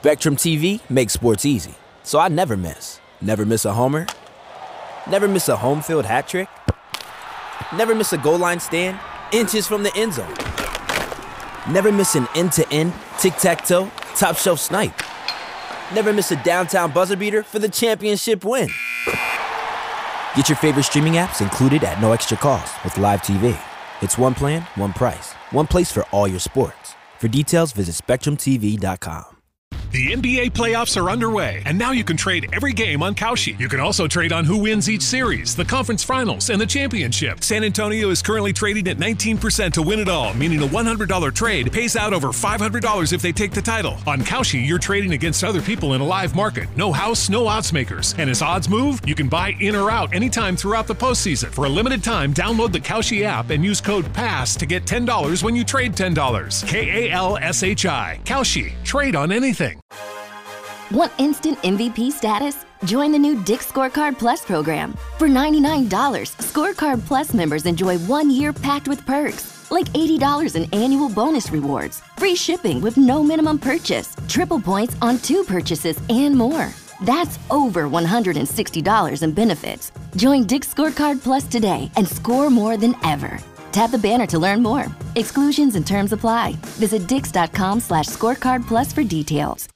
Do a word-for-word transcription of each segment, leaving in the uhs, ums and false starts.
Spectrum T V makes sports easy, so I never miss. Never miss a homer. Never miss a home field hat trick. Never miss a goal line stand inches from the end zone. Never miss an end to end, tic tac toe, top shelf snipe. Never miss a downtown buzzer beater for the championship win. Get your favorite streaming apps included at no extra cost with Live T V. It's one plan, one price, one place for all your sports. For details, visit spectrum T V dot com. The N B A playoffs are underway, and now you can trade every game on Kalshi. You can also trade on who wins each series, the conference finals, and the championship. San Antonio is currently trading at nineteen percent to win it all, meaning a one hundred dollar trade pays out over five hundred dollars if they take the title. On Kalshi, you're trading against other people in a live market. No house, no odds makers. And as odds move, you can buy in or out anytime throughout the postseason. For a limited time, download the Kalshi app and use code pass to get ten dollars when you trade ten dollars. K A L S H I. Kalshi. Trade on anything. Want instant M V P status? Join the new Dick's Scorecard Plus program. For ninety-nine dollars, Scorecard Plus members enjoy one year packed with perks, like eighty dollars in annual bonus rewards, free shipping with no minimum purchase, triple points on two purchases, and more. That's over one hundred sixty dollars in benefits. Join Dick's Scorecard Plus today and score more than ever. Tap the banner to learn more. Exclusions and terms apply. Visit dicks dot com slash scorecard plus for details.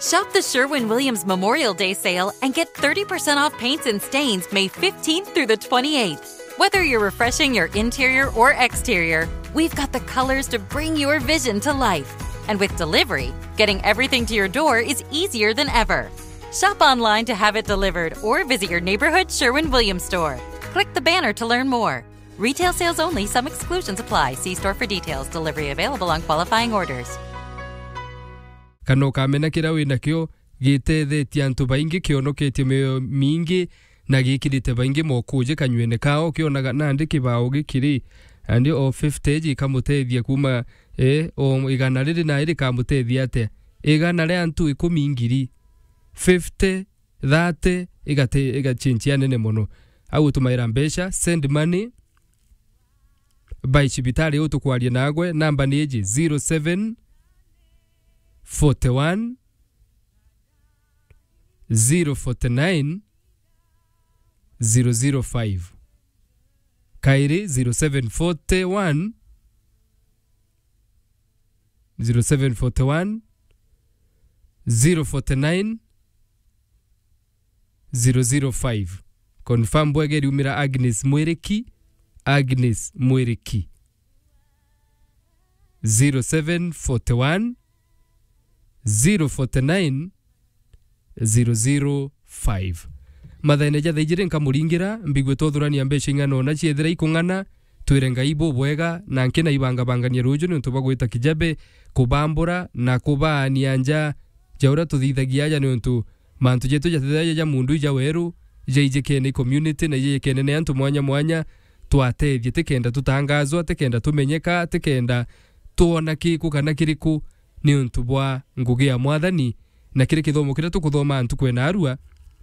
Shop the Sherwin Williams Memorial Day sale and get thirty percent off paints and stains May fifteenth through the twenty-eighth. Whether you're refreshing your interior or exterior, we've got the colors to bring your vision to life. And with delivery, getting everything to your door is easier than ever. Shop online to have it delivered or visit your neighborhood Sherwin Williams store. Click the banner to learn more. Retail sales only, some exclusions apply. See store for details. Delivery available on qualifying orders. Kana ukamena kiria wi nakio gitethetie antu baingi, kionoketie mioyo mingi, na gikirite baingi mokuji kanyuene kao. Ukionaga nandi kibao gikiri, nandi o fifty iji ikamutethia kuma, eh, o igana riri nai rikamutethia atia? Igana ria antu ikumi ngiri, fifty, thirty, igate-, igachinchia nene mono. Au utumaira mbeca, send money, by cibitari utukwaria nagwe, namba ni iji, zero seven forty one, zero forty nine, zero zero five. Kairi, zero seven forty one, zero seven forty one, zero forty nine, zero zero five. Confirm bwega iriumira Agnes Mwiriki, Agnes Mwiriki. Zero seven forty one, zero forty nine, zero zero five. Mathaine ja thaa ijiri nkamuringira, mbigue twothurania mbeca ing'ana ona ciethira ikung'ana, twire Ngai bubwega, na nki na ibangabangania ruju niuntu bwa gwita kijabe, kubambura na kubaania nja ja uria tuthithagia aja, niuntu mantu jetu jatithaja ja mundu ija weru, jaijikene i community na ijaijikene ni antu mwanya mwanya, twatethie tikenda tutangazwa, tikenda tumenyeka, tikenda twona kiku kana kiriku, niuntu bwa ngugi ya Mwathani, na kiri kithomo kiria tukuthoma ntuku ya naarua,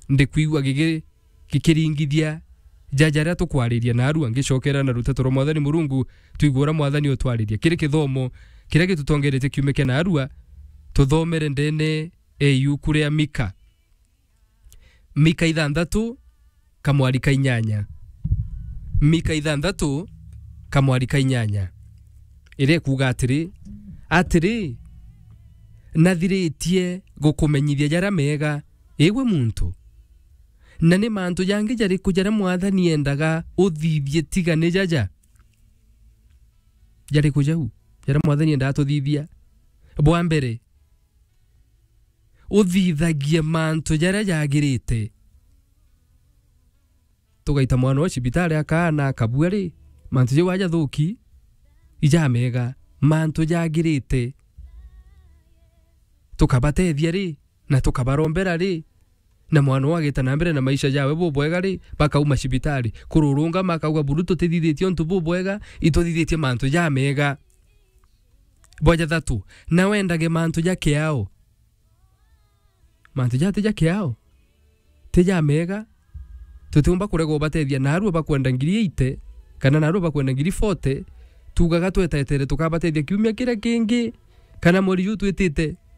ndikwigua gigi-, gikiringithia ja jaria tukwariria naarua. Ngicokera na ruteto rwa Mwathani Murungu, twigue uria Mwathani utwariria. Kiri kithomo kiria gitutongeretie kiumia kia naarua, tuthomere ndene e iuku ria Mika. Mika ithanthatu, kamwari ka inyanya. Mika ithanthatu, kamwari ka inyanya. Iria ikuuga atiri, atiri, nathiritie gukumenyithia jaria mega, igwe muntu. Na ni mantu jangi jariku jaria Mwathani endaga uthithie tiga ni jaja? Jariku jau jaria Mwathani endaga tuthithia? Bwa mbere, uthithagie mantu jaria jagirite. Tugaita mwana wa cibitari akaana akabua ri, mantu jau aja thuki, ijamega, mantu jagirite. Tukabatethia ri, na tukabarombera ri, na mwana uu agita na mbere na maisha jawe bubwega ri, bakauma cibitari. Kururungama akauga, buru tutithithitie untu bubwega, ituthithitie mantu jamega. Bwa jathatu, na wendage mantu ja kiao. Mantu ja ti ja kiao, ti ja mega. Tutiumba kurega ubatethia, naarua bakwenda ngiri eighty, kana naarua bakwenda ngiri forty, tuugaga twetetere tukabatethia kiumia kiria kingi, kana mweri juu twitite.